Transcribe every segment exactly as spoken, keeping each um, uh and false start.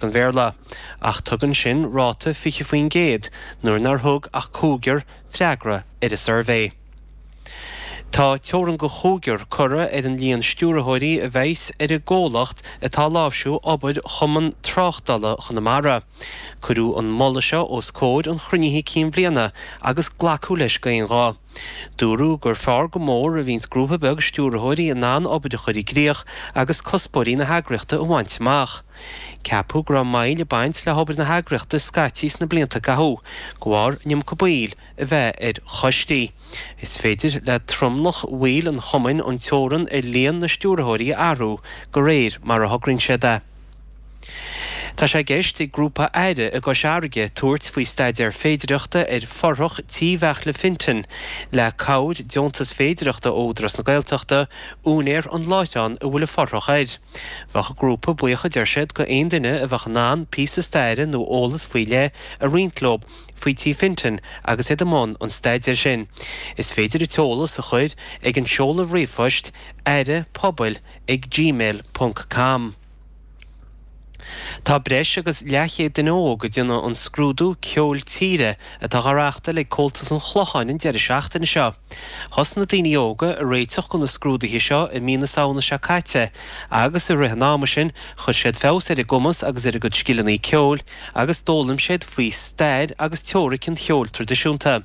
an Bhéarla, ach tugann sin ráta fiche faoin gcéad nuair nár thug ach cúigear freagra ar an suirbhé. Tá teorainn go chúigear curtha ar an líon stiúrthóirí a bheas ar an gcomhlacht atá ag láimhsiú obair Chumann Tráchtála Chonamara. Cuireadh an moladh seo os comhair an chruinnithe cinn bhliana agus glacadh leis d'aon ghuth. Dúradh gur fearr go mór a bhíonns grúpa beag stiúrthóirí in ann obair a chur i gcrích agus cuspóirí na heagraíochta a bhaint amach. Ceapadh go raibh moill ag baint le hobair na heagraíochta scaití sna blianta a caitheadh, de bharr an iomarca baill a bheith ar choistí. Is féidir le tromlach bhaill an chumainn an teorainn ar líon na stiúrthóirí a athrú de réir mar a thograíonn siad é. Tá sé i gceist ag grúpa Aire i gCois Fharraige tabhairt faoi staidéar féidireachta ar fothrach tí Bheartla Fintan le cabhair deontas féidireachta ó Údarás na Gaeltachta, úinéir an láithreáin a bhfuil an fothrach air. Bheadh an grúpa buíoch a deir siad go aon duine a bheadh in ann píosa staire nó eolas faoi leith a roinnt leo faoi Tí Fintan agus iad i mbun an staidéir sin. Is féidir an t-eolas a chur ag an seoladh ríomhphoist aire pobail ag gmail ponc com. Tá breis agus leathchéad duine óg ag déanamh an scrúdú ceoil tíre atá á reáchtáil ag Comhaltas an Chlocháin an deireadh seachtaine seo. Thosaigh na daoine óga ag réiteach do na scrúduithe seo i mí na Samhna seo caite agus i rith an ama sin chuir siad feabhas ar a gcumas agus ar a gcuid scileanna ceoil agus d'fhoghlaim siad faoi stair agus teoiric an cheoil traidisiúnta.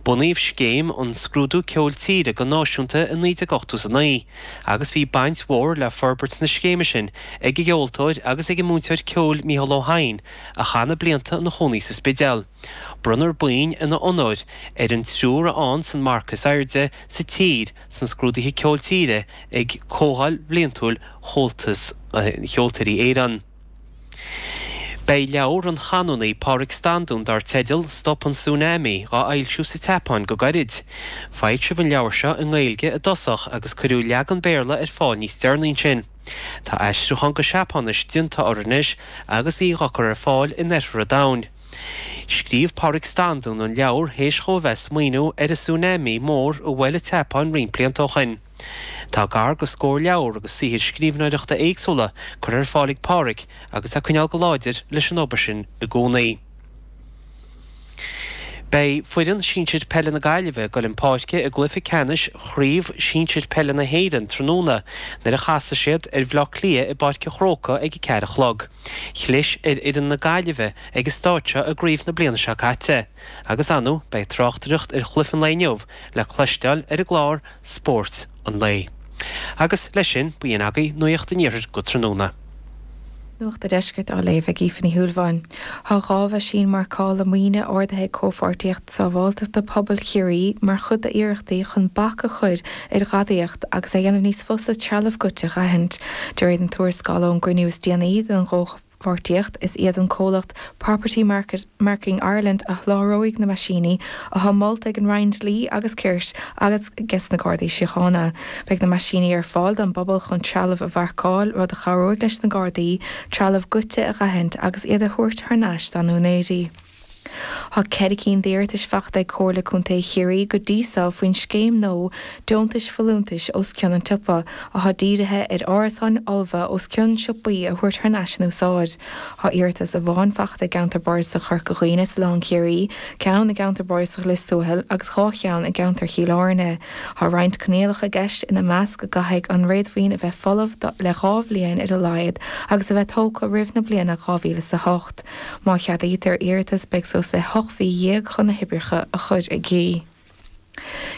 Bunaíodh scéim an Scrúdú Ceoil Tíre go náisiúnta i naoi déag ochtó is a naoi agus bhí baint mhór le forbairt na scéime sin ag an gceoltóir agus ag an múinteoir ceoil Mícheál Ó hEidhin, a chaith na blianta ina chónaí sa Spidéal. Bronnfar boinn ina onóir ar an triúr a fhaigheanns an marc is airde sa tír sna scrúduithe ceoil tíre ag Comhdháil Bhliantúil Chomhaltas Cheoltóirí Éireann. Beidh leabhar an chanúnaí Pádraig Standún dar teideal Stop an Tsunami dhá fhoilsiú sa tSeapáin go gairid. Foilsíodh an leabhar seo i nGaeilge i dtosach agus cuireadh leagan Béarla ar fáil níos deireanaí ansin. Tá aistriúchán go Seapáinis déanta uirthi anois agus í dhá cur ar fáil in oirthear an domhain. Scríobh Pádraig Standún an leabhar théis dhó a bheith ag smaoineamh ar an tsunami mór a bhuail an tSeapáin roinnt blianta ó shin. Tá gar go scór leabhar agus saothair scríbhneoireachta éagsúla curtha ar fáil ag Pádraig agus é ag coinneáil go láidir leis an obair sin i gcónaí. Beidh foireann sinsir peile na Gaillimhe ag dul chun páirce i gcluiche ceannais Chraobh Shinsir Peile na hÉireann tráthnóna nuair a chasfaidh siad ar Bhaile Átha Cliath i bPáirc an Chrócaigh ag a ceathair a chlog. Chlis ar fhoireann na Gaillimhe ag an staid seo i gcraobh na bliana seo caite. Agus ar ndóigh, beidh tráchtaireacht ar chluiche an lae inniu le cloisteáil ar an gclár Spórt an Lae. Agus leis sin, b'in agaibh Nuacht an Iarthair go tráthnóna. Nuacht an Deiscirt á léamh ag Aoife Ní Shúilleabháin. Tá dhá mheaisín marcála maoine ordaithe ag Comhpháirtíocht Sábháilteachta Pobail Chiarraí mar chuid d'iarrachtaí chun bac a chur ar ghadaíocht agus a dhéanamh níos fusa trealamh goidte a aithint. De réir an tuarascáil ón gcruinniú is déanaí den gcomhpháirtíocht, is iad an comhlacht Property Market, Marking Ireland a sholáthróidh na meaisíní atá molta ag an Roinn Dlí agus Cirt agus ag na Gardaí Síochána. Beidh na meaisíní ar fáil don bpobal chun trealamh a mharcáil, rud a chabhróidh leis na Gardaí trealamh goidte a aithint agus iad a thabhairt thar n-ais dá n-úinéirí. Tá ceithre cinn d'iarratais faighte ag Comhairle Contae Chiarraí go dtí seo faoin scéim nua deontais folúntais os cionn an tsiopa, atá dírithe ar árasáin fholmha os cionn siopaí a thabhairt thar n-ais in úsáid. Tá iarratas amháin faighte i gceantar Bardasach Chorca Dhuibhne is Oileán Ciarraí, ceann i gceantar Bardasach Lios Tuathail agus dhá cheann i gceantar Chill Airne. Tá roinnt coinníollacha i gceist, ina measc go gcaithfidh an réadmhaoin a bheith folamh le dhá bhliain ar a laghad agus a bheith tógtha roimh na bliana dhá mhíle is a hocht. Má cheadaítear iarratas beidh suas le hocht mhí dhéag chun na hoibreacha a chur i gcrích.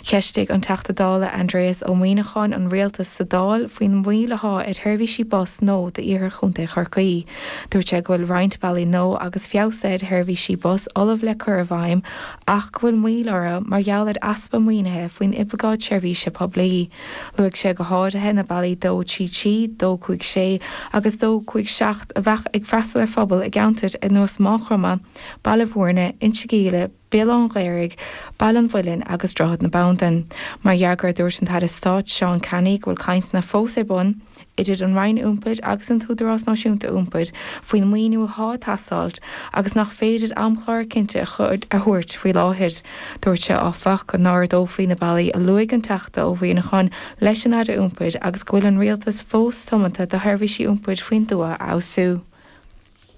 Cheistigh an Teachta Dála Aindrias Ó Muimhneacháin an rialtas sa Dáil faoin mhoill atá ar sheirbhísí bus nua d'iarthar Chontae Chorcaí. Dúirt sé go bhfuil roinnt bealaí nua agus feabhsuithe ar sheirbhísí bus ullamh le cur i bhfeidhm ach go bhfuil moill orthu mar gheall ar easpa maoinithe faoin oibleagáid seirbhíse poiblí. Luaigh sé go háirithe na bealaí dó trí trí, dó cúig sé agus dó cúig seacht a bheadh ag freastal ar phobail i gceantair ar nós Maigh Chromtha, Baile Bhúirne, Inse Gile, Béal Átha an Ghaorthaidh, Baile an Mhuilinn agus Droichead na Bandan. Mar fhreagra dúirt an tAire Stáit Seán Canney go bhfuil cainteanna fós ar bun idir an Roinn Iompair agus an tÚdarás Náisiúnta Iompair faoin maoiniú atá ag teastáil agus nach féidir amchlár cinnte a thabhairt faoi láthair. Dúirt sé áfach go n-ardófaí na bealaí a luaigh an Teachta Ó Muimhneacháin leis an Aire Iompair agus go bhfuil an rialtas fós tiomanta do sheirbhísí iompair faoin tuath a fheabhsú.